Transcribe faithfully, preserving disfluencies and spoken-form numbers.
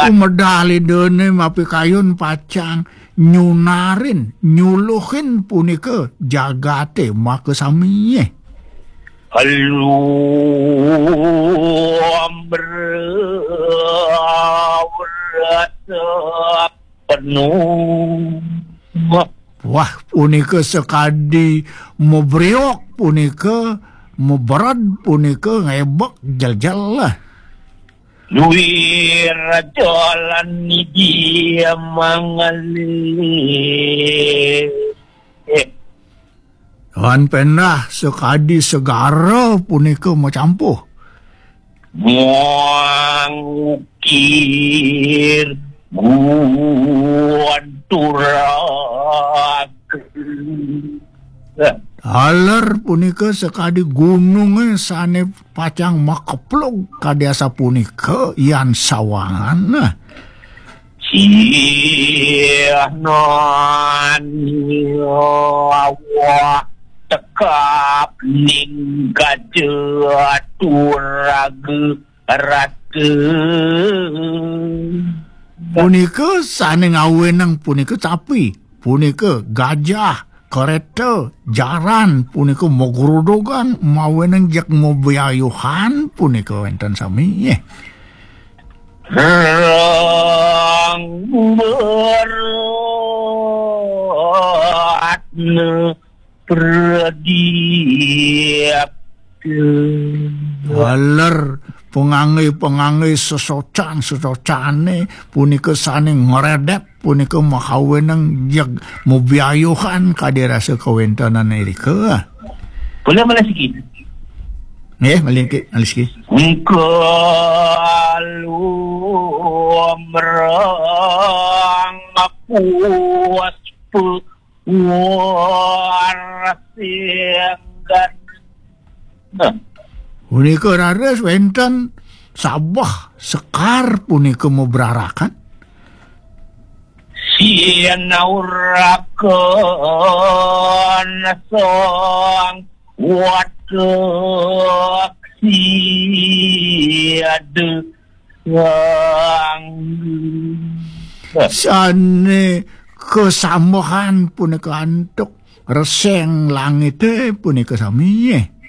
Umedal Idane mapikayun pacang nyunarin, nyuluhin punika jagate makasaminya. Alu amra rasa penuh. Wah, punika sakadi mabriok punika, mabered punika, ngebek jeljel. Luir jalan dia mangalih. Wan pendah sakadi segara punika macampuh. Mangukir guntur. Taler punika sakadi gununge sane pacang makeplug kadi asapunika yan sawangan. Sih nani awak tekap ning kaja turaga raka. Punika sane ngaweneng punika capi, punika gajah, kereta, jaran, punika magrudugan, maweneng jeg mabiayuhan, punika wenten sami. Rang beratna pradiapta. Taler pangangge-pangangge sesocan-sesocane punika sane ngredep punika makaweneng jeg mabiayuhan kadi rasa kawentenan irika. Kula malih siki. Nggih, malih siki, malih siki. Engko lumrang puspa warsinggan. Nah. Punika raris wenten sabeh sekar punika mabrarakan. Sinaurakan sang watek siada. Sane kasambehan punika antuk reseng langite punika sami.